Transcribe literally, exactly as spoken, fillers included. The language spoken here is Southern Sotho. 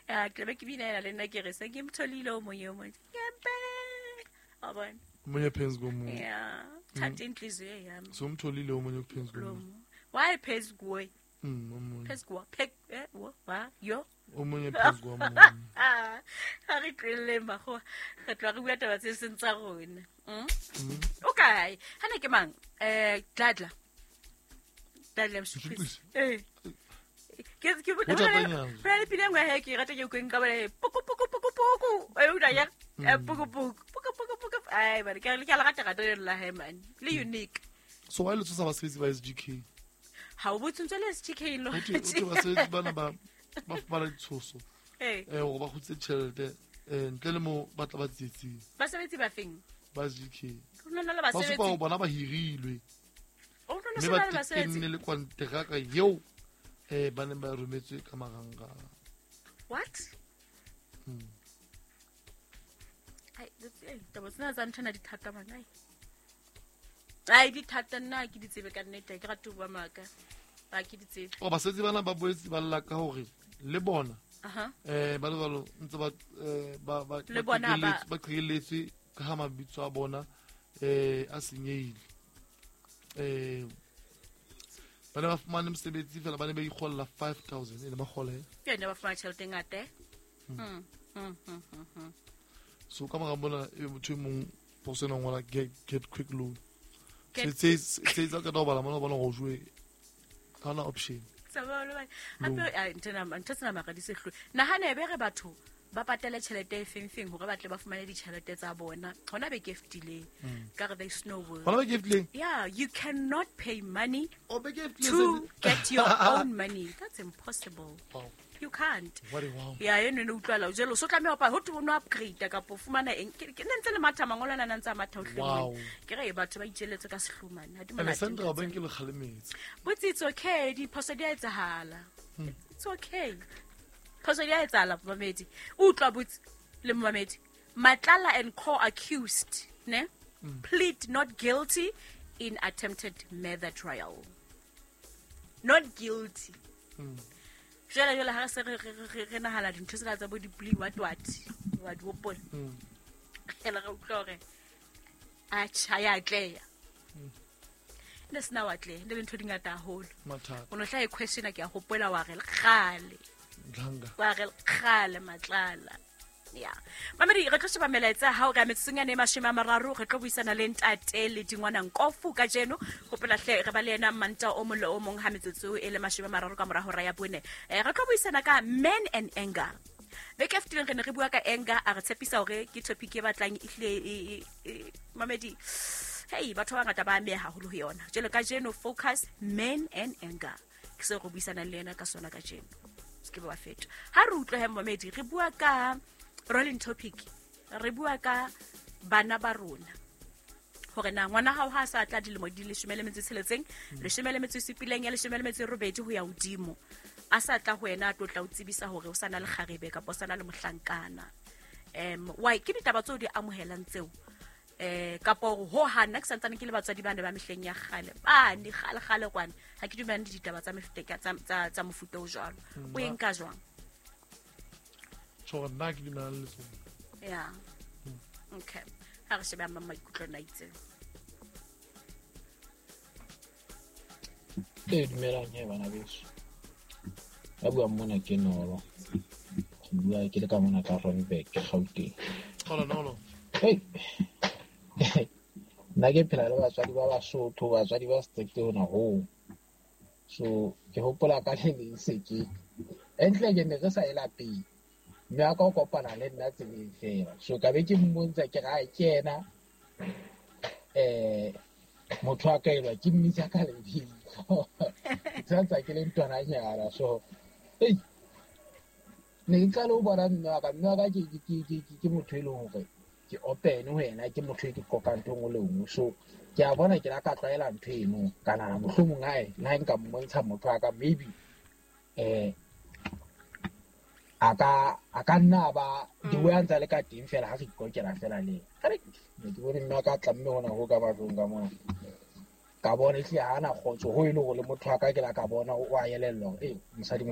Ya, ke be ke bina le nna ke re se ke mtholile o mong yo mong. Ngempela. Wa bona? Omunye phezu komunye. Yeah. Thatha inhliziyo yami. So umtholile omunye phezu komunye. Why phezu kuwe? Mm, omunye. Phezu kwa. Phe eh wa yo. Omunye phezu komunye. Ha re tlele mago. Re tla re bua taba tse seng tsa rona. Mm. Okay. Hana ke mang? Eh Dladla. Dladla Mshukwisi. Eh. Ke ke bona le pina nngwe he ke rata ke utlweng ka bona poko poko poko poko. E utlwa ya poko poko poko poko poko. Ai bana ke le ke la rata rata le la he man. Le unique. So why le tsosa basebetsi ba S G K? Ha o botse ntse le S G K lo. O te basebetsi bana ba ba fumana ditshoso. Eh. Eh gore ba kgutse tjhelete eh ntle le mo ba tla ba tsietsing. Basebetsi ba feng? Ba S G K. Rona le basebetsi. Ba supa bona ba hirilwe. O rona se ba basebetsi. Mme le kontraka eo eh ba neng ba rometswe ka marangrang. What? Hmm. Ai, taba tsena tsa nthana di thata bana. Ai di thata nna ke di tsebe ka nnete, ke rata ho bua maka. Ba ke di tsebe. O basebetsi bana ba boetse ba lla ka hore le bona. Aha. Eh ba le jwalo ntse ba ba ba le bona ba ba qheletswe ka ha mabitso a bona eh a senyehile. Eh ba ne ba fumane mosebetsi fela ba ne ba ikgolla five thousand e ne ba kgola. Ke ne ba fumana tjhelete e ngata. Mm. Mm mm. So ka mora bona e motho e mong poso ena ngola get get quick loan. Se se se tsa ka bala mona bona go jwe kana option. Hape a ntena ntho tsena mara di se hlwe. Nahana e be re batho ba patele tjhelete e feng feng hore ba tle ba fumane ditjhelete tsa bona. Hona be ke fetileng. Ka re there is no work. Hona be ke fetileng. Yeah, you cannot pay money o be ke fetileng to get your own money. That's impossible. Wow. You can't. What a wow. Yeah, eno ne utlwala jelo so tlameha ho ho no upgrade ka po fumana eng ke ne ntse le matha mangolo ana ntse a matha ho Wow. Ke re batho ba itjeletse ka sehlomane ha di And monate. Central Bank le kgalemetse. But it's okay, diphoso di a etsahala. It's okay. Phoso di a etsahala mamedi. Utlwa botse le mamedi. Matlala and co-accused, ne? Mm. Plead not guilty in attempted murder trial. Not guilty. Mm. Jwale jwale ha re se re re re nahala dintho tsena tsa bo di plea what what wa di hopola. Mm. Ela re utlwa hore a tjha ya tleya. Ne sena wa tleya, ne le ntho di ngata haholo. Mathata. O no hla e question ke a hopola wa re kgale. Dlanga. Wa re kgale Matlala. Ya. Mamedi re tlo sheba melaetsa ha o re metsotsong ya ne mashome a mararo re tlo buisana le ntate le dingwana Nkofu kajeno. Hopola hle re ba le yena manta o mong le o mong ha metsotso e le mashome a mararo ka mora hora ya bone. Eh re tlo buisana ka men and anger. Beke e fetileng re ne re bua ka anger, a re tshepisa hore ke topic e batlang ehlile mamedi. Hey, batho ba bangata ba ameha haholo ho yona. Jwale kajeno focus men and anger. Ke se re buisana le yena ka sona kajeno. Se ke ba feta. Ha re utlwe he mamedi re bua ka rolling topic, re bua ka bana ba rona. Hore na ngwana hao ha sa tla dilemo di leshome le metso e tsheletseng, leshome le metso e supileng, ya leshome le metso e robedi ho ya hodimo. A sa tla ho wena a tlo tla o tsebisa hore o sa na le kgarebe kapa o sa na le mohlankana. Em why ke ditaba tseo di amohelang tseo? Eh kapa hore ho hana ke santsane ke le batswadi ba ne ba mehleng ya kgale. Ba ne kgale kgale kwana. Ha ke dumellane le ditaba tsa mefuta tsa tsa tsa mofuta o jwalo. O e nka jwang? Tjho nna ke dumellane le tsona. Yeah. Okay. Ha re shebe mang maikutlo na itse. E dumelang he bana beso. Ba bua mona ke Nolo. Ke bua ke le ka mona ka Randburg, Gauteng. Hola Nolo. Hey. Nna ke phela le batswadi ba Basotho, batswadi ba strict hona hoo. So ke hopola ka le leng se ke. Entle ke ne re sa e lapeng. Mme a ka o kopana le nna tseleng fela. So ka be ke mmontsha ke re ke yena eh motho a ka elwa ke mmitsa ka lebitso. Ke ke le ntwananyana. So hey ne ke qala ho bona mme wa ka, mme wa ka ke ke ke ke motho e leng hore ke open ho yena, ke motho e ke qoqang ntho e nngwe le nngwe. So ke a bona ke la ka tlwaela ntho eno ka nahana mohlomong hae le ha nka mmontsha motho wa ka maybe eh a ka a ka nna ba di way a ntsa le ka teng fela ha re ikokela fela le ena. Ne ke bone mme wa ka tlamme hona ho ka matlong ka mona. Ka bona ehlile ha ana kgotso ho e le hore le motho wa ka ke la ka bona o a elellwa hore eh mosadi